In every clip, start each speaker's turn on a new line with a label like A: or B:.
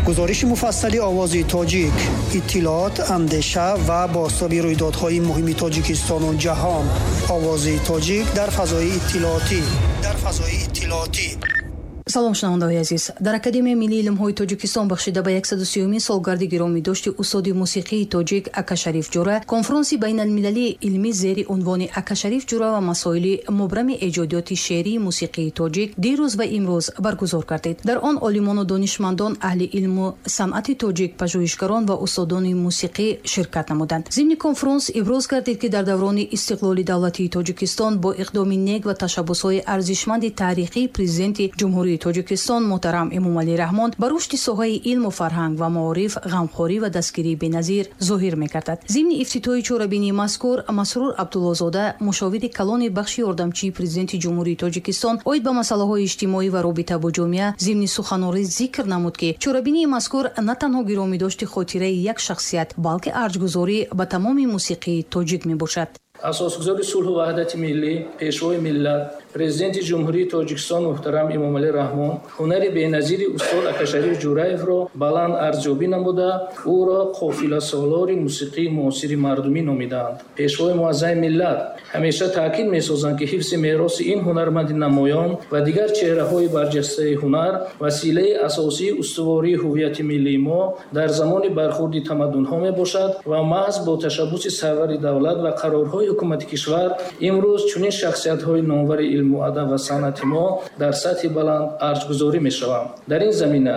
A: Гузориши муфассали «Овози тоҷик», иттилоот, андеша ва бозтоби рӯйдодҳои муҳими Тоҷикистону ҷаҳон. «Овози тоҷик» дар фазои иттилоотӣ, дар фазои иттилоотӣ.
B: Салом, шунавандаҳои азиз! Дар Академияи миллии илмҳои Тоҷикистон бахшида ба 130-умин солгарди гиромидошти устоди мусиқии тоҷик Акашариф Ҷура конфронси байналмилалии илмӣ зери унвони «Акашариф Ҷура ва масоили мубрами эҷодиёти шеърии мусиқии тоҷик» дирӯз ва имрӯз баргузор гардид. Дар он олимону донишмандон, аҳли илму санъати тоҷик, пажӯҳишгарон ва устодони мусиқӣ ширкат намуданд. Зимни конфронс иброз гардид, ки дар даврони истиқлоли давлатии Тоҷикистон бо иқдоми нек ва ташаббусҳои арзишманди таърихии Президенти Ҷумҳурии Тоҷикистон муҳтарам Эмомалӣ Раҳмон ба рушди соҳаи илму фарҳанг ва маориф ғамхорӣ ва дастгирии беназир зоҳир мегардад. Зимни ифтитоҳи чорабинии мазкур Масрур Абдуллозода, мушовири калони бахши ёрдамчии Президенти Ҷумҳурии Тоҷикистон оид ба масъалаҳои иҷтимоӣ ва робита бо ҷомеа, зимни суханорӣ зикр намуд, ки чорабинии мазкур на танҳо гиромидошти хотираи як шахсият, балки арҷгузорӣ ба тамоми мусиқии тоҷик мебошад.
C: Асосгузори сулҳу ваҳдати миллӣ, Пешвои миллат, Президенти Ҷумҳурии Тоҷикистон муҳтарам Эмомалӣ Раҳмон ҳунари беназири устод Акашариф Ҷураевро баланд арзёбӣ намуда, ӯро қофиласолори мусиқии муосири мардумӣ номидаанд. Пешвои муаззами миллат ҳамеша таъкид месозанд, ки ҳифзи мероси ин ҳунарманди намоён ва дигар чеҳраҳои барҷастаи ҳунар василаи асосии устувории ҳуввияти миллии мо дар замони бархурди тамаддунҳо мебошад ва маҳз бо ташаббуси сарвари давлат ва қарорҳои ҳукумати кишвар имрӯз чунин шахсиятҳои номвари илму адаб ва санъати мо дар сатҳи баланд арҷгузорӣ мешаванд. Дар ин замина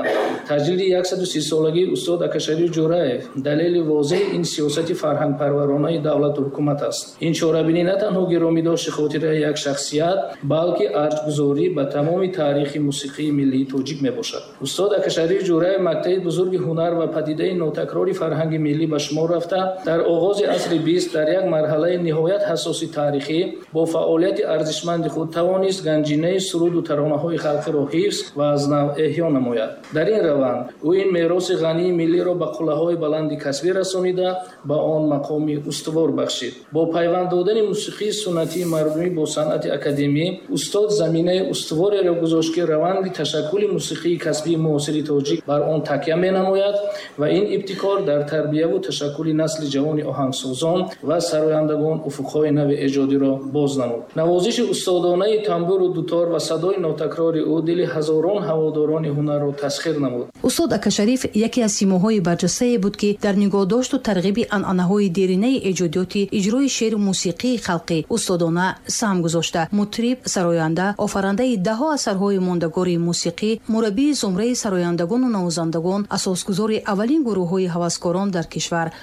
C: таҷлили 130-солагии устод Акашариф Ҷураев далели возеҳи ин сиёсати фарҳангпарваронаи давлату ҳукумат аст. Ин чорабинӣ на танҳо гиромидошти хотираи як шахсият, балки арҷгузорӣ ба тамоми таърихи мусиқии миллии тоҷик мебошад. Устод Акашариф Ҷураев мактаби бузурги ҳунар ва падидаи нотакрори фарҳанги миллӣ ба шумор рафта, дар оғози асри 20 дар як марҳалаи ниҳоят ҳассоси таърихӣ бо фаъолияти арзишманди худ тавонист ганҷинаи суруду таронаҳои халқиро ҳифз ва аз нав эҳё намояд. Дар ин раванд ӯ ин мероси ғании миллиро ба қуллаҳои баланди касбӣ расонида, ба он мақоми устувор бахшид. Бо пайванд додани мусиқии суннатии мардумӣ бо санъати академӣ устод заминаи устувореро гузошт, ки раванди ташаккули мусиқии касбии муосири тоҷик бар он такя менамояд ва ин ибтикор дар тарбияву ташаккули насли ҷавони оҳангсозон ва сарояндагон уфуқҳои нави эҷодиро боз намуд. Навозиши устодонаи тамбуру дутор ва садои нотакрори ӯ дили ҳазорон ҳаводорони ҳунарро тасхир намуд.
B: Устод Акашариф яке аз симоҳои барҷастае буд, ки дар нигоҳдошту тарғиби анъанаҳои деринаи эҷодиёти иҷрои шеъру мусиқии халқӣ устодона саҳм гузошта, мутриб, сароянда, офарандаи даҳҳо асарҳои мондагори мусиқӣ, мураббии зумраи сарояндагону навозандагон, асосгузори аввалин гурӯҳҳои ҳаваскорон дар кишвар.